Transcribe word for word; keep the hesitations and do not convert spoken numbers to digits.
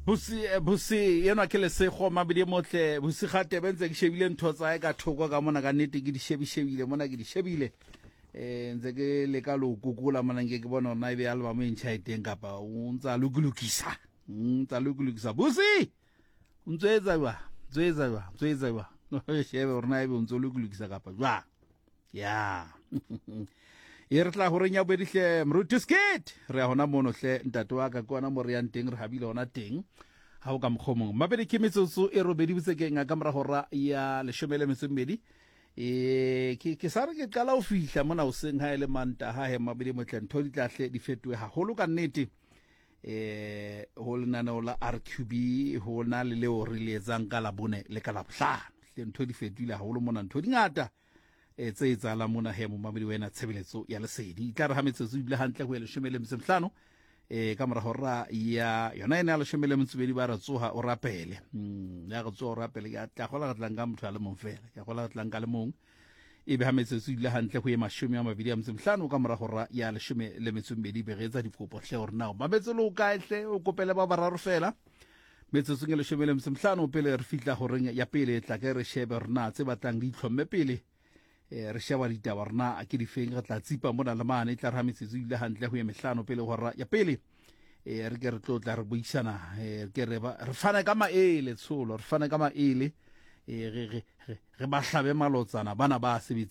Busi eh, Busi enwa ke Lesego Mabedi Motle. Busi Gatebe ntse ke shebile ntho tsa hae ka thoko ka mona, ka nnete ke di shebishebile mona, ke di shebile eh ntse ke leka lo kukola mona, nke ke bona hore na ebe album e ntjha e teng kapa o ntsa lokilokisa, ntsa lokilokisa. Busi, o ntso etsa jwang? Ntso etsa jwang? Ntso etsa jwang? Shebe hore na ebe o ntso lokilokisa kapa jwang. Ya e re tla horeng ya bobedi hle, moruti Skit, re ya hona mono hle, ntate wa ka, ke ona mo re yang teng, re habile hona teng. Ha o ka mokgwa o mongwe, mabedi ke metsotso e robedi botsekeng ka mora hora ya leshome le metso e mmedi. E ke ke sa re ke qala ho fihla mona hoseng ha e le Mantaha he, mabedi motle, ntho di tla hle di fetohe haholo ka nnete. Eh ho lenaneo la R Q B ho na le leo re le etsang ka Labone le ka Labohlano hle, ntho di fetohile haholo mona, ntho di ngata e tse etsahalang mona he, momamedi wena tshebeletso ya Lesedi. E tla re ha metsotso ebile hantle ho ya leshome le metso e mehlano e ka mora hora ya yona ene ya leshome le metso e mebedi, ba re tsoha o rapele. Mm, ya re tsoha o rapele, ke tla gola re tlang ka motho a le mong fela, ke gola re tlang ka le mong. E be ha metsotso ebile hantle ho ye mashome a mabedi a metso e mehlano ka mora hora ya leshome le metso e mmedi, be re etsa dikopo hle hore na o mametse le o kae hle, o kopele ba bararo fela metsotsong e leshome le metso e mehlano pele re fihla horeng ya pele. Tla ke re shebe hore na tse batlang di itlhomme pele eh re sheba ditaba rena ke difeng, re tla tsipa mona le mane. E tla re ha metsotso ebile hantle ho ye mehlano pele hora ya pele, eh re ke re tlo tla re buisana, eh ke re ba re fana ka maele tsholo, re fana ka maele, eh re re re re ba hlabe malotsana bana ba sebetsang.